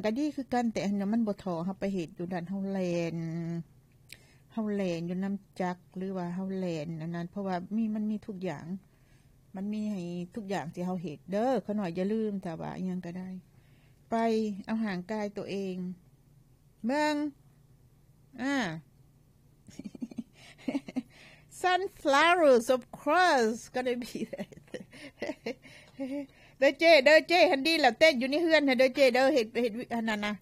ກໍດີຄືກັນ ແຕ່ອັນນັ້ນມັນບໍ່ທໍ່ເຮົາໄປເຮັດຢູ່ນັ້ນ ເຮົາແລ່ນ ເຮົາແລ່ນຢູ່ນຳຈັກ ຫຼືວ່າເຮົາແລ່ນອັນນັ້ນ ເພາະວ່າມີ ມັນມີທຸກຢ່າງ ມັນມີໃຫ້ທຸກຢ່າງທີ່ເຮົາເຮັດເດີ. ຂ້ານ້ອຍຢ່າລືມ ຖ້າວ່າອີ່ຫຍັງກໍໄດ້ ໄປເອົາຮ່າງກາຍໂຕເອງ ເບິ່ງ ອາ Sunflowers, of course, gonna be there. ເດີເຈ້ ເດີເຈ້ ຫັ້ນດີແລ້ວ ເຕັ້ນຢູ່ໃນເຮືອນຫັ້ນເດີເຈ້ເດີ ເຮັດ ເຮັດອັນນັ້ນນະ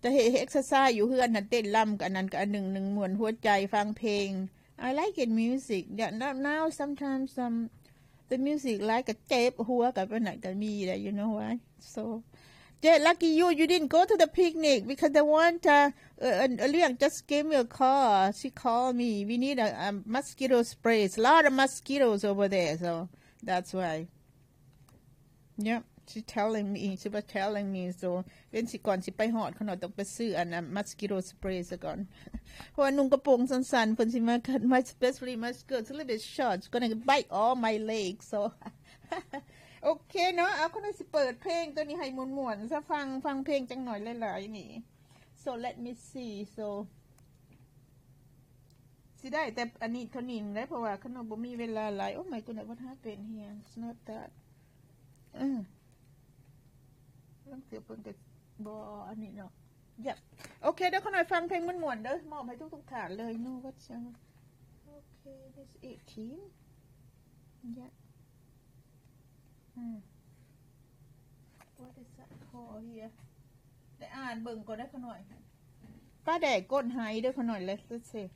ຈະເຮັດ ເຮັດເອັກເຊີໄຊຢູ່ເຮືອນຫັ້ນ ເຕັ້ນລຳກັບອັນນັ້ນກັບອັນໜຶ່ງ ໜຶ່ງມ່ວນຫົວໃຈ ຟັງເພງ. I like it music. Yeah, now, now sometimes, um, the music ຫຼາຍກໍເຈັບຫົວ ກໍປານນັ້ນກໍມີແຫຼະ you know why? So, yeah, lucky you, you didn't go to the picnic because the one, uh, uh, uh, Liang just gave me a call. She called me. We need a, a mosquito spray. It's a lot of mosquitoes over there, so that's why. Yeah, she telling me, she was telling me. So ເວັນຊິ ກ່ອນຊິໄປຮອດ ຂ້ານ້ອຍຕ້ອງໄປຊື້ອັນ mosquito spray ຊະກ່ອນ ເພາະວ່ານຸ່ງກະໂປງສັ້ນໆ ເພິ່ນຊິມາ my, especially my skirt, it's a little bit short, it's gonna bite all my legs. So ໂອເຄເນາະ ເອົາ ຂ້ານ້ອຍຊິເປີດເພງໂຕນີ້ໃຫ້ມ່ວນໆ ຊະ ຟັງ ຟັງເພງຈັກໜ້ອຍຫຼາຍໆນີ້. So let me see. So ຊິໄດ້ແຕ່ອັນນີ້ເທົ່ານີ້ແຫຼະ ເພາະວ່າຂ້ານ້ອຍບໍ່ມີເວລາຫຼາຍ. Oh my goodness, what happened here? It's not that. ເອີ ລາງເທື່ອເພິ່ນກໍບໍ່ອັນນີ້ເນາະ. ຢາກ ໂອເຄເດີ ຂ້ານ້ອຍຟັງເພງມ່ວນໆເດີ ມອບໃຫ້ທຸກໆທ່ານເລີຍ. No, what's, uh, okay, this eighteen. Yeah. Hmm. What is that called here? ໄດ້ອ່ານເບິ່ງກ່ອນເດີຂ້ານ້ອຍ. ປາແດກກົ້ນໄຫເດີຂ້ານ້ອຍ. Let's, let's see.